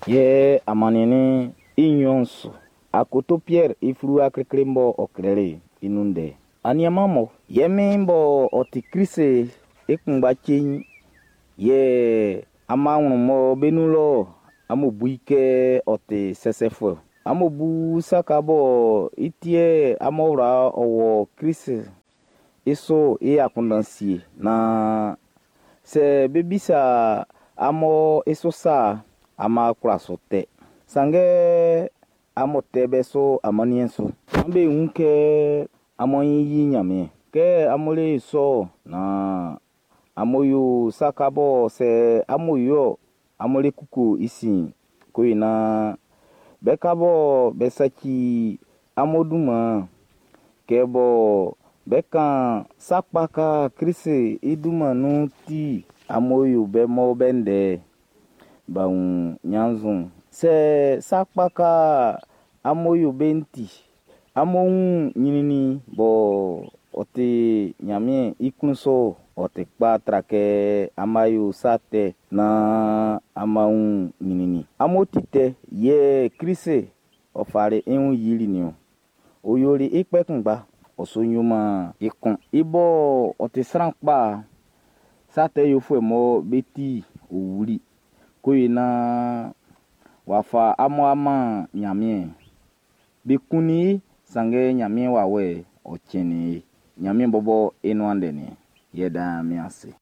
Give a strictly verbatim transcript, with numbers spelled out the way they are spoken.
Yɛ amanniɛn'n i nnyɔn su. Akoto Piɛr i fluwa klikli'n b'ɔ klɛli'n i nun ndɛ. Anianman mun, ye Min'n b'ɔ ti Krist i kunngba ceinjin yɛ an ma wun mɔ be nun lɔ amun bu i kɛ ɔ ti sɛsɛfuɛ. Amun bu sa ka bɔ i ti yɛ amun wla ɔ wɔ Krist i su i akunndan sie naan sɛ be bisa amun i su sa'n, amun a kwla su tɛ. Sanngɛ amun tɛ be su amanniɛn su. Maan be wun kɛ amun ɲin yi Ɲanmiɛn. Kɛ amun le sɔ naan amun yo sa ka bɔ sɛ amun yo amun le kuku i sin ko yi naan be ka bɔ be saci amun dunman'n, kɛ bɔ be kan sa kpa ka Krist i dunman nun ti amun yo be mɔ be ndɛ b'a wun ɲannzuɛn. Sɛ sa kpa ka amun yo be'n ti amun wun ɲrɛnnɛn bɔ ɔ ti Ɲanmiɛn i klun sɔ ɔ ti kpa tra kɛ amun yo sa tɛ naan amun wun ɲrɛnnɛn. Amun ti tɛ yɛ Klist ɔ fali i wun yili nin-ɔn. Ɔ yoli i kpɛ kunngba, ɔ su yoman i kun. I bɔ ɔ ti sran kpa, sa tɛ yofuɛ mɔ be ti ɔ wuli ko yi naan w'a fa amun a man Ɲanmiɛn. Be kunnin i, sanngɛ Ɲanmiɛn wawɛ'n ɔ cɛnnin i. Ɲanmiɛn bɔbɔ i nuan ndɛ nin yɛ dan min ase.